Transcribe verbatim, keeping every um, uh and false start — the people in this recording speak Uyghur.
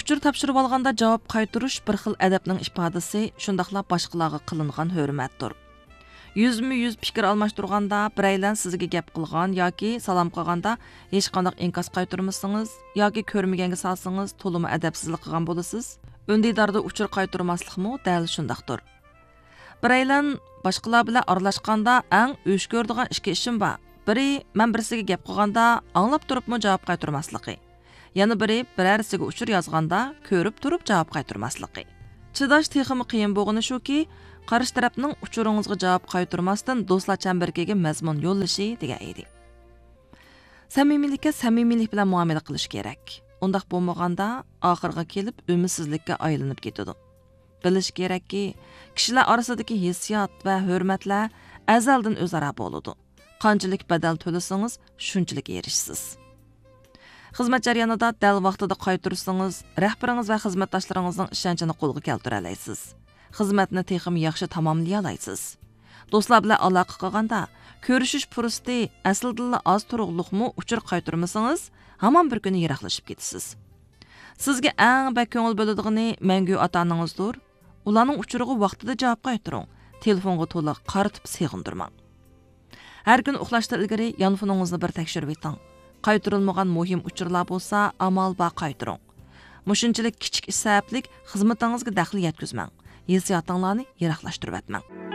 ئۇچۇر تاپشۇرۇۋالغاندا جاۋاب قايتۇرۇش بىر خىل ئەدەپنىڭ ئىپادىسى، شۇنداقلا باشقىلارغا قىلىنغان ھۆرمەتتۇر. يۈزمۇ يۈز پىكىر ئالماشتۇرغاندا، بىرەيلەن سىزگە گەپ قىلغان ياكى سالام قىلغاندا ھېچقانداق ئىنكاس قايتۇرمىسىڭىز ياكى كۆرمىگەنگە سالسىڭىز، تولىمۇ ئەدەپسىزلىك قىلغان بولىسىز. ئۈندىداردا ئۇچۇر قايتۇرماسلىقمۇ دەل شۇنداقتۇر. بىرەيلەن باشقىلار بىلەن ئارىلاشقاندا ئەڭ ئۆچ كۆرىدىغان ئىككى ئىشىم بار. بىرى، مەن بىرسىگە گەپ قىلغاندا ئاڭلاپ تۇرۇپمۇ جاۋاب قايتۇرماسلىقى. يەنە بىرى، بىرەرسىگە ئۇچۇر يازغاندا كۆرۈپ تۇرۇپ جاۋاب قايتۇرماسلىقى. چىداش تېخىمۇ قىيىن بولغىنى شۇكى، قارشى تەرەپنىڭ ئۇچۇرىڭىزغا جاۋاب قايتۇرماستىن دوستلار چەمبىرىكىگە مەزمۇن يوللىشى دېگەن ئىدى. سەمىمىيلىككە سەمىمىيلىك بىلەن مۇئامىلە قىلىش كېرەك. ئۇنداق بولمىغاندا، ئاخىرىغا كېلىپ ئۈمىدسىزلىككە ئايلىنىپ كېتىدۇ. بىلىش كېرەككى، كىشىلەر ئارىسىدىكى ھېسسىيات ۋە ھۆرمەتلەر ئەزەلدىن ئۆزئارا بولىدۇ. قانچىلىك بەدەل تۆلىسىڭىز، شۇنچىلىك ئېرىشىسىز. خىزمەت جەريانىدا دەل ۋاقتىدا قايتۇرسىڭىز، رەھبىرىڭىز ۋە خىزمەتداشلىرىڭىزنىڭ ئىشەنچىنى قولغا كەلتۈرەلەيسىز. خىزمەتنى تېخىمۇ ياخشى تاماملىيالايسىز. دوستلار بىلەن ئالاقە قىلغاندا، كۆرۈشۈش پۇرسىتى ئەسلىدىنلا ئاز تۇرۇقلۇقمۇ ئۇچۇر قايتۇرمىسىڭىز، ھامان بىر كۈنى يىراقلىشىپ كېتىسىز. سىزگە ئەڭ بەك كۆڭۈل بۆلىدىغىنى مەڭگۈ ئاتا-ئانىڭىزدۇر. ئۇلارنىڭ ئۇچۇرىغا ۋاقتىدا جاۋاب قايتۇرۇڭ. تېلېفونغا تولا قارىتىپ سېغىندۇرماڭ. ھەر كۈنى ئۇخلاشتىن ئىلگىرى يانفونىڭىزنى بىر تەكشۈرۈۋېتىڭ. قايتۇرۇلمىغان مۇھىم ئۇچۇرلار بولسا، ئامال بار قايتۇرۇڭ. مۇشۇنچىلىك كىچىك ئىش سەۋەبلىك خىزمىتىڭىزگە دەخلى يەتكۈزمەڭ. ھېسسىياتىڭلارنى يىراقلاشتۇرۇۋەتمەڭ.